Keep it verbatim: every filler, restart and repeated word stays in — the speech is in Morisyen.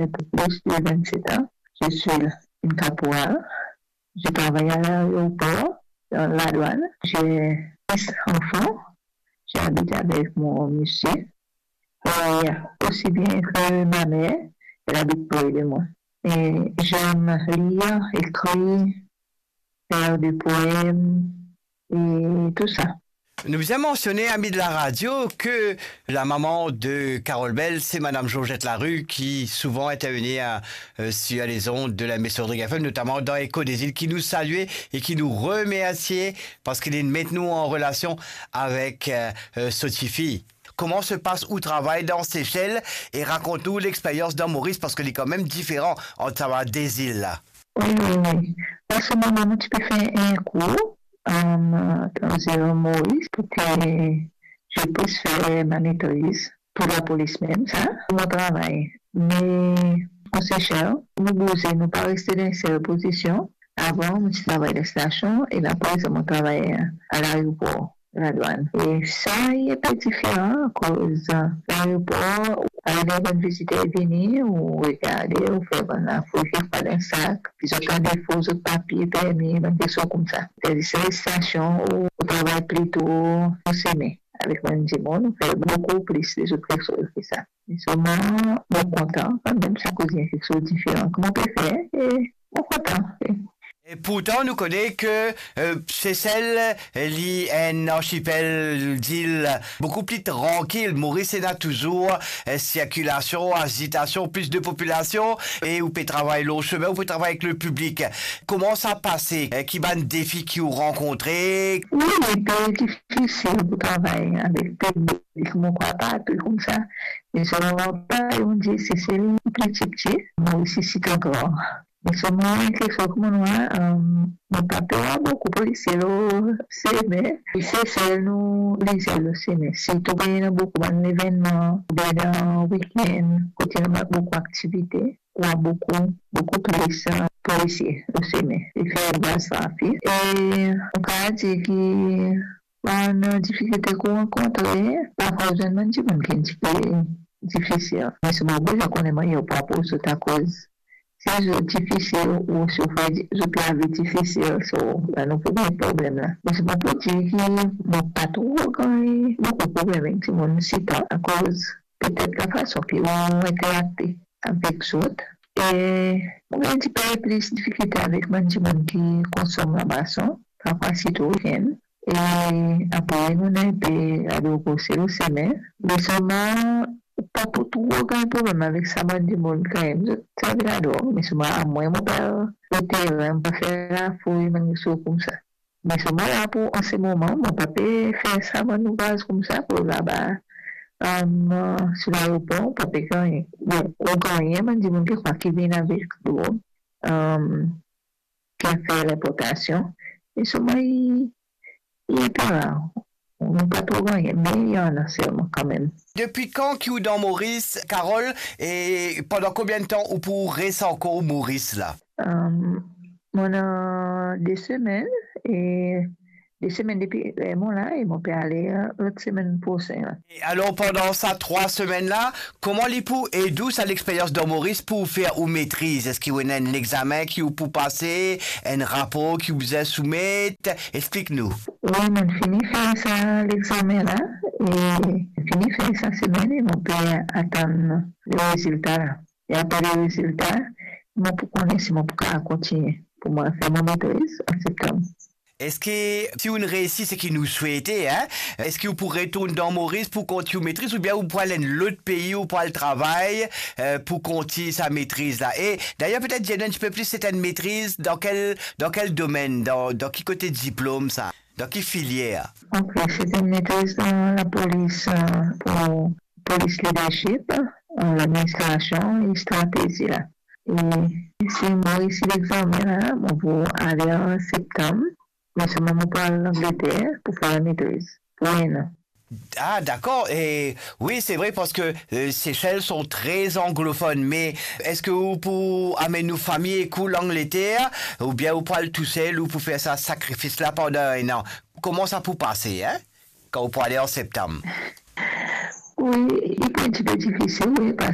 Plus de vingt-sept ans, je suis une caporal. Je travaille à l'aéroport, dans la douane. J'ai six enfants. J'habite avec mon monsieur. Et aussi bien que ma mère, elle habite près de moi. Et j'aime lire, écrire, faire des poèmes et tout ça. Nou bizin mansione, ami de la radio, ke la maman de Carole Bell, c'est Madame Georgette Larue, qui souvent intervient, euh, sur les ondes de la Maison Rodrigue F M, notamment dans Écho des Îles, qui nous salue et qui nous remercie parce qu'il met nous en relation avec, euh, euh, so tifi. Kouma se pas ou travay dan Sesel e rakont nou lexperyans dan Moris, parski li kanmem diferan ant sa de zil la. Wi, wi, wi. Parski mwa, mwa ti pe fer enn kour, euh, dan zil Moris pou ke je puisse faire ma maîtrise pour la police mem, sa, mo travay. Me o Sesel, nou bouze, nou pa reste dan enn sel pozision. Avan, mo ti travay dan stasion, e la, prezan, mo travay a laeropor, ladwann. E sa, li enpe diferan, akoz, euh, laeropor, ou al ena bann viziter vini, ou regade, ou fer bann lafoul, kiksoz dan sak, ki zot ena defo zot papie, permi, bann kiksoz koumsa. Tandis ki stasion, ou, ou travay plito o seme avek bann dimoun, ou fer boukou plis lezot kiksoz ki sa. Me selman, mo kontan kanmem, sa koz li enn kiksoz diferan ki mo pe fer, e mo kontan. E pourtan, nou kone ke, euh, Sesel, li enn archipel, zil boukou pli trankil. Moris ena touzour, euh, sirkilasion, azitasion, plis de popilasion, e ou pe travay lor sime, ou pe travay avek le piblik. Kouma sa pase? Euh, ki bann defi ki ou rankontre? Wi, li pe difisil pou travay avek piblik, mo krwar partou koumsa. Me selman, pa, on dir, Sesel pli tipti, Moris isi gran. Me selman, kiksoz ki mo war, euh, mo pa pe war boukou polisie lor sime. Sesel nou lizir lor sime. Sirtou kan ena boukou bann levennman, oubien dan wikenn, kot ena boukou aktivite, ou war boukou, boukou plis, euh, polisie lor sime. Li fer baz trafik. E mo kapav dir ki bann difikilte ki ou rankontre, parfwa zwenn bann dimoun ki enn tipe difisil. Me selman, ou bizin kone mwayin ou pou apoz zot, akoz si zot difisil, ou si ou fer di-, zot lavi difisil, so, la nou pou gagn problem la. Me selman pou dir ki mo pa tro gagn boukou problem avek dimoun sirtou, akoz petet lafason ki ou interakte avek zot. E mo gagn enn tipe plis difikilte avek bann dimoun ki konsom labason, parfwa sirtou wikenn. E apre, nou ena enpe ladrog osi lor sime. Me selman, ou pa pou tro gagn problem avek sa bann dimoun kanmem, zot servi ladrog, me selman amwin mo pa al lor terin, mo pa fer lafouy, bann kiksoz koumsa. Me selman la, pou an se moman, mo pa pe fer sa bann louvraz koumsa, pou laba, euh, sou laeropor, ou pa pe gagn. Bon, ou gagn bann dimoun ki krwar ki vinn avek drog, euh, ki al fer linportasion. Me selman, li, li enpe rar. Nou pa tro gagn, me li ena selman kanmem. Depi kan ki ou dan Moris, Carole, e pandan konbien de tan ou pou res ankor Moris la? Euh, mo ena de semenn, e de semenn depi, e, mo la, e mo pe ale, euh, lot semenn prosin la. E alor, pandan sa trwa semenn la, kouma li pou ed ou sa lexperyans dan Moris pou fer ou metriz? Eski ou ena enn lexame ki ou pou pase, enn rapor ki ou bizin soumet? Explik nou. Wi, mo fini fer sa lexame la, e fini fer sa semenn, e mo pe atann le rezilta la. E apre le rezilta, mo pou kone si mo pou kapav kontigne pou mo fer mo metriz an septanm. Eski, si ou'nn reysi seki nou swete, hein, eski ou pou retourn dan Moris pou kontign ou metriz, oubien ou pou al enn lot pei, ou pou al travay, euh, pou kontign sa metriz la? E dayer, petet dir nou enn tipe plis, se enn metriz dan kel, dan kel domenn, dan, dan ki kote diplom sa? Dan ki filier? Ok, se enn metriz dan lapolis, euh, pou polis leadership, euh, ladministrasion e stratezi la. E si mo reysi lexame la, mo pou ale an septanm, me selman mo pou al Langleter pou fer metriz pou enn an. Ah, dakor. E wi, se vre, parski, euh, Seychelles sont très anglophones, me eski ou pou amenn ou fami ek ou Langleter, oubien ou pou al tousel, ou pou fer sa sakrifis la pandan enn an? Kouma sa pou pase, hein? Kan ou pou ale an septanm? Wi, li pou enn tipe difisil, wi, parski